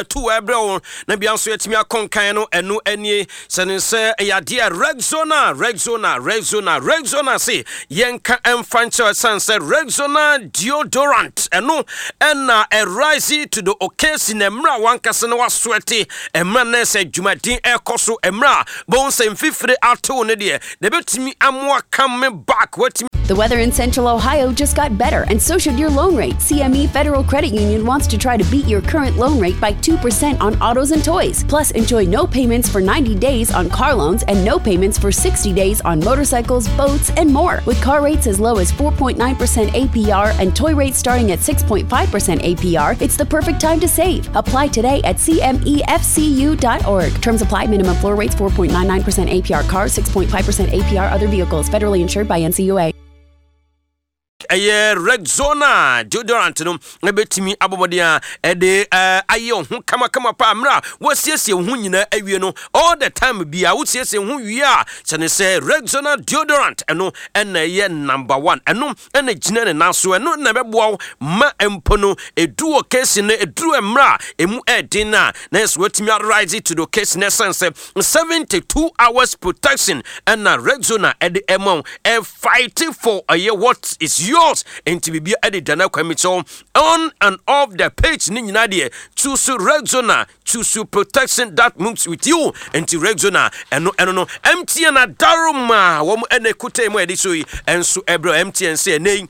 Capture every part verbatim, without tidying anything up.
two ɛbrɛ wo na bia nso yɛtumi akɔnkan no. Ɛno anie sɛ ne sɛ ɛyɛ adeɛ Rexona, Rexona, Rexona, Rexona se yɛnka ɛmfa nkyerɛ, ɛsiane sɛ Rexona deodorant ɛno ɛna ɛrise to the occasion. Mmerɛ a wankasa no wasoɛte, mmerɛ na sɛ dwumadin ɛkɔ so, mmerɛ a bɔn sɛ mfifire atew no deɛ na ɛbɛtumi amoa come back watumi. The weather in Central Ohio just got better, and so should your loan rate. C M E Federal Credit Union wants to try to beat your current loan rate by two percent on autos and toys. Plus, enjoy no payments for ninety days on car loans and no payments for sixty days on motorcycles, boats, and more. With car rates as low as four point nine percent A P R and toy rates starting at six point five percent A P R, it's the perfect time to save. Apply today at C M E F C U dot org. Terms apply. Minimum floor rates four point nine nine percent A P R cars, six point five percent A P R other vehicles. Federally insured by N C U A. Ɛyɛ Rexona deodorant no ɛbɛtumi abɔmmɔden a ɛde ayɛ wo ho kamakama paa. Mmerɛ a wɔasiesie wo ho nyinaa awie no, all the time bia wosiesie wo ho wie a, kyɛ ne sɛ Rexona deodorant ɛno ɛna ɛyɛ number one. Ɛno ɛna gyina ne nan so, ɛno na ɛbɛboa wo ma mpo no ɛdu occasion no, ɛduru mmerɛ a ɛmu ɛɛden no a, na ɛsɛ watumi arise to the occasion, ɛsiane sɛ seventy-two hours protection ɛna Rexona ɛde ɛma wo, ɛfight for ɛyɛ what is yours. Nti biribia ɛde dana kwan mi kyɛw on and off the page ne nyinaa deɛ, choose Rexona, choose protection that moves with you. Nti Rexona ɛno ɛno no M T N adaroma wɔn ɛna ekuta mu a yɛde so yi ɛnso ɛbrɛ M T N sɛ ɛnɛ yi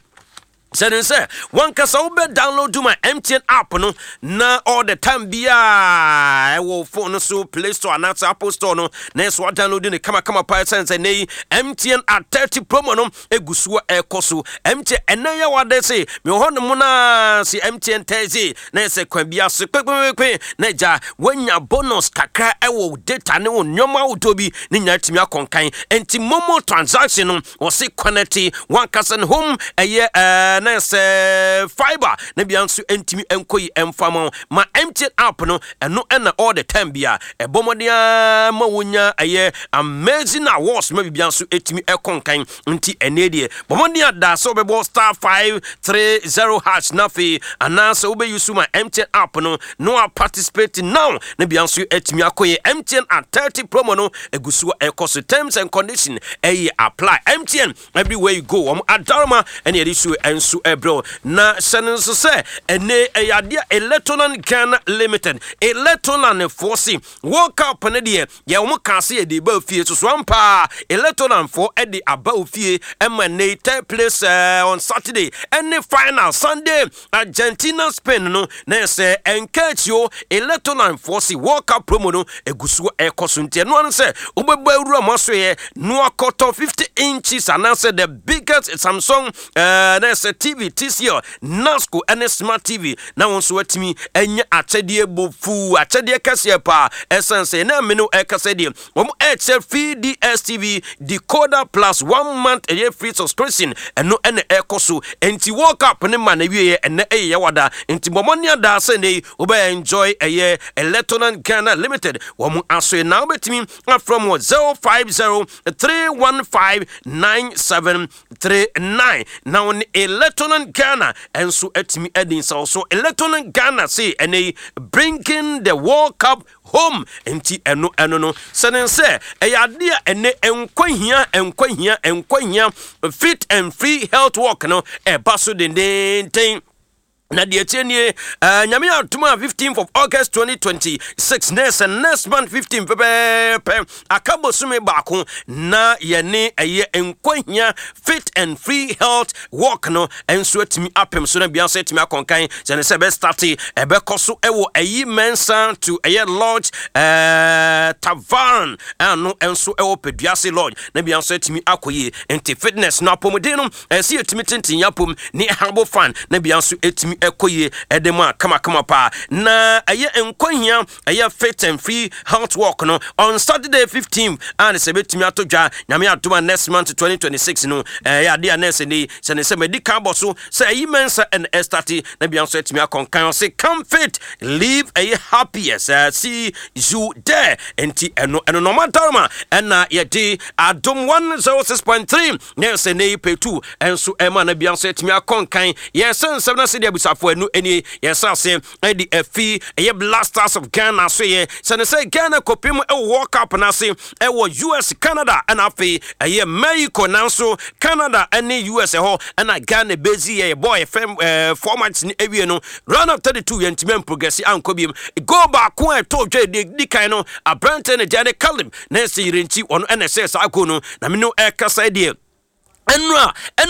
sɛne sɛ wankasa wobɛ download ma M T N app no na all the time biaa ɛwɔ phone no so, Play Store anaasɛ Apple Store no, na ɛsɛ wadownload ne kamakama paa, ɛsiane sɛ nɛ yi M T N at thirty promo no ɛgu so ɛkɔ so. M T N ɛnɛ yɛ wade se mewɔ hɔ no mu naa se M T N Thursday na ɛsɛ kwan bia so kpekpekpe na agya woanya bonus kakra ɛwɔ data ne wo nneɔma ahodoɔ bi ne nyinaa tumi akɔnkan. Enti MoMo transaction no wɔse connect wankasa ne home ɛyɛ ɛɛ na sɛ fiber na bia nso ntumi nkɔ yi ɛmfa ma ma M T N app no. Ɛno ɛna all the time bia ɛbɔ mmɔden ara ma wonya ɛyɛ amazing awards ma bibia nso ɛtumi ɛkɔ nkan. Nti ɛnɛ deɛ, bɔ mmɔden ada sɛ wobɛbɔ star five three zero hash na afei anaasɛ wobɛyi so ma M T N app no na wa participate now na bia nso ɛtumi akɔ yɛ. M T N at thirty promo no ɛgu so ɛkɔ so. Terms and condition ɛyɛ apply. M T N, everywhere you go. Wɔn adaroma ɛne yɛde so ɛnso ɛbrɛw na hyɛ no nso sɛ ɛnɛ ɛyɛ adeɛ Electroland Ghana Limited, Electroland foɔ se World Cup no deɛ yɛ wɔn ka se yɛde ba fie so so ampa. Electroland foɔ ɛde aba ofie ɛma ɛnɛ third place ɛɛ on Saturday ɛne final Sunday, Argentina Spain no, na ɛsɛ ɛnka akyi o. Electroland foɔ se World Cup promo no egu so ɛkɔ so, nti ɛno ano sɛ wobɛbɔ awura mo aso yɛ no akɔtɔ fifty inches anaasɛ the biggest Samsung ɛɛ na ɛsɛ T V T C L, Nasco ɛne smart T V na wɔn nso atumi anya akyɛdeɛ bofuu, akyɛdeɛ kɛseɛ paa, ɛsan sɛ ɛna mene ɛkasa deɛ wɔn ɛkyɛ free D S T V decoder plus one month ɛyɛ free subscription. Ɛno ɛna ɛkɔ so. Nti World Cup ne ma na wie ɛnɛ ɛyɛ yɛwada, nti bɔmmɔ ne ada sɛ ne wobɛ enjoy ɛyɛ Electroland Ghana Limited wɔn aso na wobɛtumi afrɛ mu zero five zero three one five nine seven three nine na wɔne Electroland Ghana ɛnso atumi adi nsaw so. Electroland Ghana se ɛnɛ yi bringing the World Cup home. Nti ɛno ɛno no sɛne sɛ ɛyɛ adeɛ a ɛnɛ nkwa hia, nkwa hia, nkwa hia fit and free health walk no ɛba so dendenden. Na deɛ tie nie, uh, Nyame atom a fifteenth of August twenty twenty-six, na ɛsɛ next month fifteen pɛpɛɛpɛ, aka bosome baako na yɛne ɛyɛ Nkwahia fit and free health walk no nso atumi apem so na bia nso atumi akɔnkan. Sɛ ne sɛ ɛbɛstart, ɛbɛkɔ so ɛwɔ Ayi Mensa to ɛyɛ Lodge ɛɛ tavern ɛno nso ɛwɔ Peduase Lodge na bia nso atumi akɔ yie. Nti fitness no, apɔmuden no, ɛsɛ yɛtumi tenten yɛapom ne habo fan na bia nso atumi ɛkɔ yie ɛde mu a kamakama paa. Na ɛyɛ Nkwahia ɛyɛ fit and free health walk no on Saturday fifteen a ne sɛ bɛtumi ato dwa, Nyame adom a, next month twenty twenty-six no. Ɛyɛ adeɛ a nɛɛsɛ ne sɛ ne sɛ madi kan bɔ so sɛ ɛyi Mɛnsa ɛna ɛstart na bia nso atumi akɔnkan. Ɔse come fit, live ɛyɛ happiest. uh, see you there. Nti ɛno ɛno nɔɔma daroma ɛna yɛde Adom one oh six point three na ɛsɛ ne yi pɛtu ɛnso ɛma na bia nso atumi akɔnkan. Yɛsɛ nsɛm no sɛ deɛ abusuafoɔ Abusuafo, ɛno ɛnie yɛsɛ ase ɛde afi ɛyɛ Black Stars of Ghana so yɛ sɛne sɛ Ghana kɔpem ɛwɔ World Cup no ase ɛwɔ U S, Canada ɛna afei ɛyɛ Mexico. Nanso Canada ɛne U S ɛhɔ ɛna Ghana bɛzi yɛ yɛbɔ yɛfɛ ɛɛ four matches ne awie no, round of thirty-two, yɛntumi amprogress ankɔ biom. Goal baako a ɛtɔ dwa di di kan no, aberante no gya ne Caleb na ɛsɛ Yirenkyi, ɔno ɛna ɛsɛ saa goal no. Na me no ɛkasa deɛ ɛno a ɛno